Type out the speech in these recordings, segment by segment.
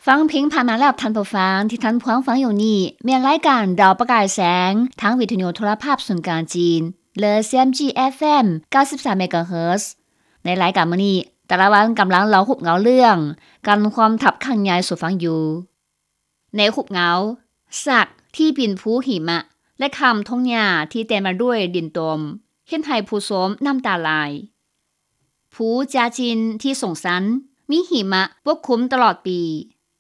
ຟັງເພງຜ່ານມາແລ້ວ ທ່ານຜູ້ຟັງ ທີ່ທ່ານຜູ້ຟັງຟັງຢູ່ນີ້ ແມ່ນລາຍການດາວປະກາຍແສງ ທາງວິທະຍຸໂທລະພາບສູນກາງຈີນ ຫຼື CMG FM ເກົ້າສິບສາມ MHz. ໃນລາຍການມື້ນີ້ ຕາລະວັນກຳລັງເລົ່າຮູບເງົາເລື່ອງ ການຮ່ວມທັບຄັ້ງໃຫຍ່ສູ່ຟັງຢູ່. ໃນຮູບເງົາ ສາກທີ່ປີນພູຫິມະ ແລະ ຂ້າມທົ່ງຫຍ້າທີ່ເຕັມໄປດ້ວຍດິນຕົມ ເຮັດໃຫ້ຜູ້ຊົມນ້ຳຕາໄຫຼ. ພູຈາຈິນທີ່ສູງຊັນ ມີຫິມະປົກຄຸມຕະຫຼອດປີ.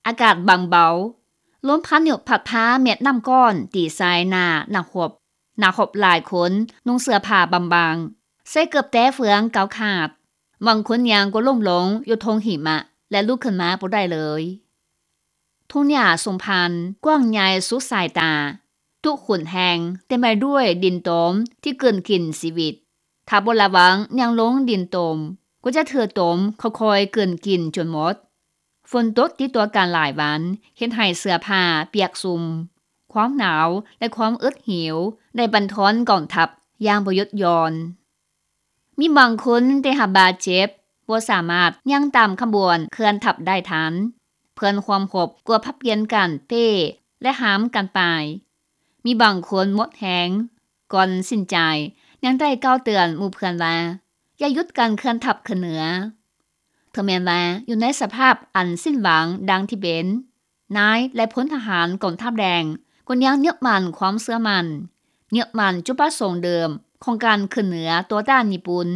ອາກາດບາງເບົາ. ລົມພາຍຸພັດພາເມັດນ້ຳກ້ອນຕີໃສ່ໜ້ານັກຮົບ. ນັກຮົບຫຼາຍຄົນນຸ່ງເສື້ອຜ້າບາງໆ, ໃສ່ເກີບແຕ້ເຟືອງເກົ່າຂາດ. ບາງຄົນຍ່າງກໍລົ້ມລົງຢູ່ທົ່ງຫິມະ ແລະ ລຸກຂຶ້ນມາບໍ່ໄດ້ເລີຍ. ທົ່ງຫຍ້າຊຸມພັນກວ້າງໃຫຍ່ສຸດສາຍຕາ. ທຸກຫົນແຫ່ງເຕັມໄປດ້ວຍດິນຕົມທີ່ກືນກິນຊີວິດ. ຖ້າບໍ່ລະວັງຍ່າງລົງດິນຕົມ ກໍຈະຖືກຕົມຄ່ອຍໆກືນກິນຈົນໝົດ. ຝົນຕົກຕິດຕໍ່ກັນຫຼາຍວັນ ເຮັດໃຫ້ເສື້ອຜ້າປຽກຊຸ່ມ. ຄວາມໜາວ ແລະ ຄວາມອຶດຫິວໄດ້ບັນທອນກອງທັບຢ່າງບໍ່ຢຸດຢ່ອນ. ມີບາງຄົນໄດ້ຮັບບາດເຈັບ, ບໍ່ສາມາດຍ່າງຕາມຂະບວນເຄື່ອນທັບໄດ້ທັນ. ເພື່ອນຮ່ວມຮົບກໍຜັດປ່ຽນກັນເປ້ ແລະ ຫາມກັນໄປ. ມີບາງຄົນໝົດແຮງ, ກ່ອນສິ້ນໃຈ ຍັງໄດ້ກ່າວເຕືອນໝູ່ເພື່ອນວ່າ ຢ່າຢຸດການເຄື່ອນທັບຂຶ້ນເໜືອ. ເຖິງແມ່ນວ່າຢູ່ໃນສະພາບອັນສິ້ນຫວັງດັ່ງທີ່ເປັນ, ນາຍ ແລະ ພົນທະຫານກອງທັບແດງກໍຍັງຍຶດໝັ້ນຄວາມເຊື່ອໝັ້ນ, ຍຶດໝັ້ນຈຸດປະສົງເດີມຂອງການຂຶ້ນເໜືອຕໍ່ຕ້ານຍີ່ປຸ່ນ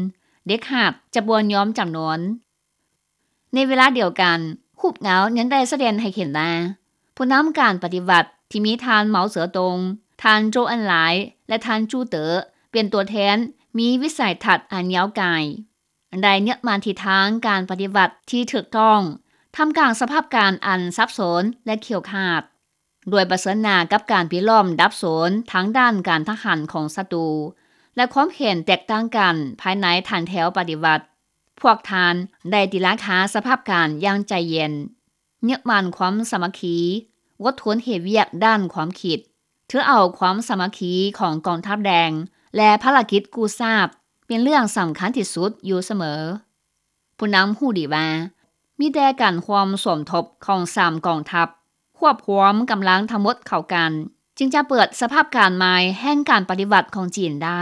ເດັດຂາດຈະບໍ່ຍອມຈຳນົນ. ໃນເວລາດຽວກັນ, ຮູບເງົາຍັງໄດ້ສະແດງໃຫ້ເຫັນວ່າ ຜູ້ນຳການປະຕິວັດທີ່ມີທ່ານ ເໝາເສີຕົງ, ທ່ານ ໂຈເອັນຫຼາຍ ແລະ ທ່ານ ຈູເຕີ ເປັນຕົວແທນ ມີວິໄສທັດອັນຍາວໄກ, ໄດ້ຍຶດໝັ້ນທິດທາງການປະຕິວັດທີ່ຖືກຕ້ອງ ທ່າມກາງສະພາບການອັນສັບສົນ ແລະ ຂຽວຂາດ. ດ້ວຍປະເຊີນໜ້າກັບການປິດລ້ອມດັບສູນທາງດ້ານການທະຫານຂອງສັດຕູ ແລະ ຄວາມເຫັນແຕກຕ່າງກັນພາຍໃນຖານແຖວປະຕິວັດ, ພວກທ່ານໄດ້ຕີລາຄາສະພາບການຢ່າງໃຈເຢັນ, ຍຶດໝັ້ນຄວາມສາມັກຄີ, ອົດທົນເຮັດວຽກດ້ານຄວາມຄິດ, ຖືເອົາຄວາມສາມັກຄີຂອງກອງທັບແດງ ແລະ ພາລະກິດກູ້ຊາດ ເປັນເລື່ອງສຳຄັນທີ່ສຸດຢູ່ສະເໝີ. ຜູ້ນຳຮູ້ດີວ່າ ມີແຕ່ການຮ່ວມສົມທົບຂອງສາມກອງທັບ, ຮວບຮວມກຳລັງທັງໝົດເຂົ້າກັນ, ຈຶ່ງຈະເປີດສະພາບການໃໝ່ແຫ່ງການປະຕິວັດຂອງຈີນໄດ້.